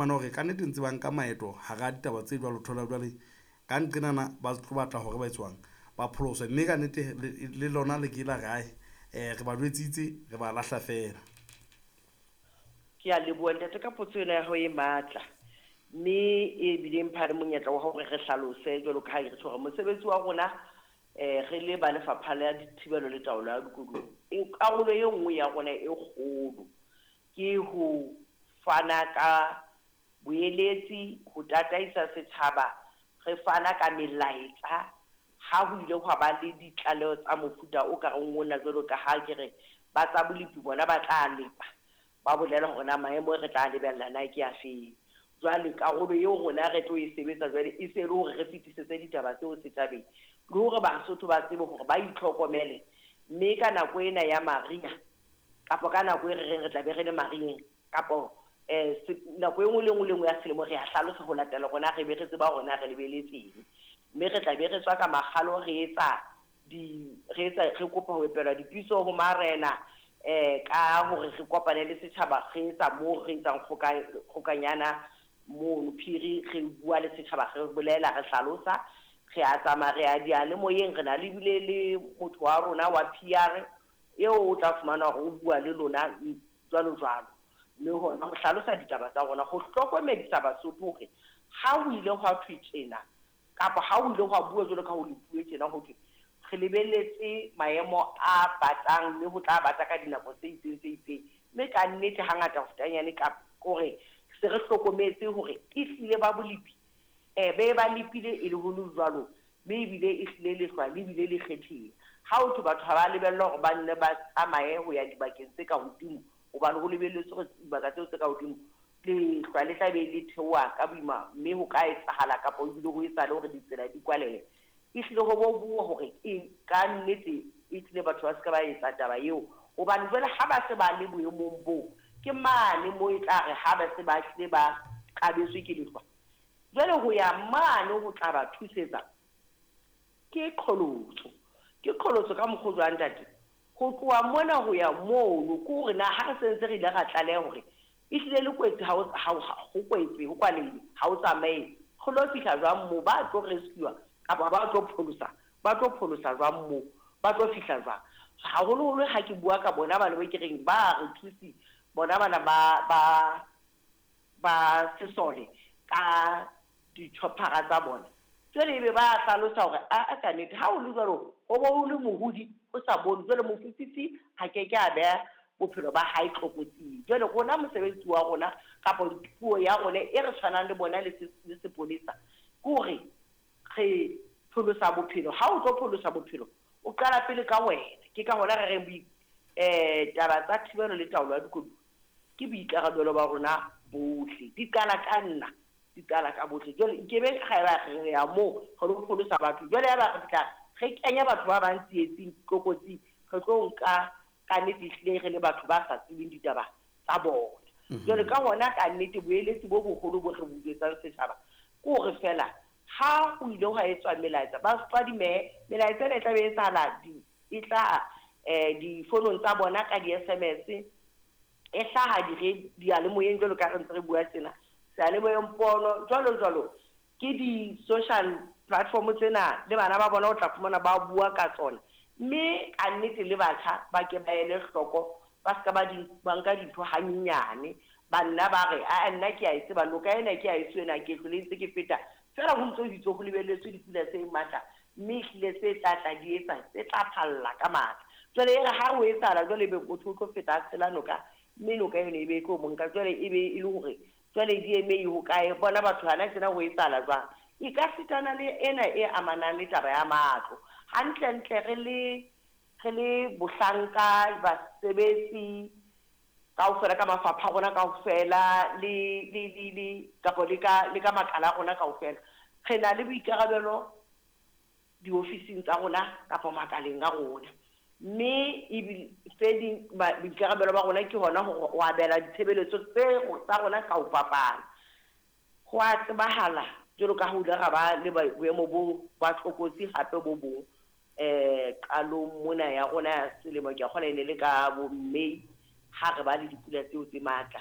Fumana hore kannete ntse ba nka maeto hara ditaba tse jwalo, thola jwale ka nqenana ba tlo batla hore ba etswang ba pholoswe, mme ka nnete le lona le ke la re ae, re ba jwetsitse re ba lahla fela. Ke a leboha ntate ka potso ena ya hao e matla, mme e bile mpha le monyetla wa hore re hlalose jwalo ka ha re tjho hore mosebetsi wa rona re le ba lefapha la dithibelo le taolo ya dikoduwa, karolo e nngwe ya rona e kgolo ke ho fana ka boeletsi, ho tataisa setjhaba, re fana ka melaetsa ha ho ile hwa ba le ditlaleho tsa mofuta o ka reng ona, jwalo ka ha ke re ba tsa bolepi bona ba tla lepa ba bolela hore na maemo re tla lebella na ke afeng. Jwale karolo eo rona re tlo e sebetsa jwale e se le hore re fetisetse ditaba tseo setjhabeng, le hore Basotho ba tsebe hore ba itlhokomele, mme ka nako ena ya mariha kapa ka nako e re reng re tla be re le mariheng kapo nako e nngwe le nngwe le nngwe ya selemo re a hlalosa ho latela rona re be re tseba hore na re lebeletseng, mme re tla be re tswa ka makgalo re etsa di re etsa re kopa ho epelwa dipitso ho marena ka hore re kopane le setjhaba, re etsa moo re etsang kgokanyana mono phiri, re bua le setjhaba, re bolela, re hlalosa, re a tsamaya, re a diyalemoyeng, re na le bile le motho wa rona wa PR eo o tla fumana hore o bua le lona jwalo jwalo, mme hona ho hlalosa ditaba tsa rona, ho hlokomedisa Basotho hore ha ho ile hwa thwe tjena kapa ha ho ile hwa bua jwalo ka ho le bue tjena, ho thwe re lebelletse maemo a batang mme ho tla bata ka dinako tse itseng tse itseng, mme ka nnete hangata ho fetanyane ka hore se re hlokometse hore ehlile ba bolepi be ba lepile e le ho le jwalo, mme ebile ehlile lehlwa le bile le kgethile. Ha ho thwe batho ha ba lebellwa hore ba nne ba tsamaye ho ya dibakeng tse ka hodimo, hobane ho lebelletswe hore dibaka tseo tse ka hodimo lehlwa le tla be le theoha ka boima, mme ho ka etsahala kapa ebile ho etsahale hore ditsela di kwalehe. Ehlile ho bo bua hore e ka nnete ehlile batho ba se ka ba etsa taba eo, hobane jwale ha ba se ba le boemong boo, ke mane moo e tla re ha ba se ba hlile ba qabetswe ke lehlwa, jwale ho ya mane ho tla ba thusetsa ke qholotso. Ke qholotso ka mokgwa o jwang ntate? Ho tloha mona ho ya mono ke hore na ha re sentse re ile ra tlaleha hore ehlile le kwetse ha ho kwetse, ho kwalehile, ha o tsamaye, re lo fihla jwang moo, ba tlo rescue kapa ba tlo pholosa, ba tlo pholosa jwang moo, ba tlo fihla jwang? Haholoholo ha ke bua ka bona bana ba ke reng ba re thusi bona bana ba sesole ka di-choppera tsa bona, jwale ebe ba hlalosa hore a ka nnete ha o le jwalo ho bo o le mohodi o sa bone, jwale mofufutsi ha ke ke a beha bophelo ba hae tlokotsing. Jwale rona mosebetsi wa rona kapa puo ya rona e re tshwanang le bona le sepolesa ke hore re pholosa bophelo. Ha o tlo pholosa bophelo o qala pele ka wena. Ke ka hona re reng taba tsa thibelo le taolo ya dikoduwa ke boikarabelo ba rona bohle, di qala ka nna, di qala ka bohle. Jwale nkebe ga eba re ya moo re lo pholosa batho, jwale ya ba re fihla re kenya batho ba bang tsietsing tlokotsing, re tlo nka ka nnete ehlile re le batho ba sa tsebeng ditaba tsa bona. Jwale ka hona ka nnete boeletsi bo boholo bo re bo jwetsang setjhaba ke hore fela ha ho ile hwa etswa melaetsa ba fadimehe, melaetsa ena e tla be etsahala e tla difonong tsa bona ka di-SMS, e hlaha diyalemoyeng jwalo ka re ntse re bua tjena, seyalemoyeng pono jwalo jwalo, ke di-social platform tsena le bana ba bona o tla fumana ba bua ka tsona. Mme ka nnete le batjha ba ke ba ele hloko, ba ska ba nka dintho hanyenyane, ba nna ba re a nna ke a e tseba noka ena ke a e ena ke hlole ntse ke feta fela, ho ntso bitso ho lebelletswe dipula tse matla, mme ehlile tse tla tla di etsa tse tla phalla ka matla. Jwale e re ha ho etsahala jwale ebe motho o tlo feta a tshela noka, mme noka eno e be e tlo mo nka, jwale e be e le hore jwale di eme ho kae, bona batho hana tjena ho etsahala jwang. E ka sitana le ena e amanang le taba ya matlo. Hantlentle re le bohlanka basebetsi kaofela ka mafapha a rona kaofela le kapa le ka makala a rona kaofela, re na le boikarabelo diofising tsa rona kapa makaleng a rona, mme ebile tse ding boikarabelo ba rona ke hona hore o abela ditshebeletso tsa rona ka ho fapana. Ho a tsebahala jwalo ka ha ho ile ra ba le boemo bo ba tlokotsi hape bo bong qalong mona ya rona ya selemo, ke a kgolwa e ne le ka bo May ha re ba le dipula tseo tse matla.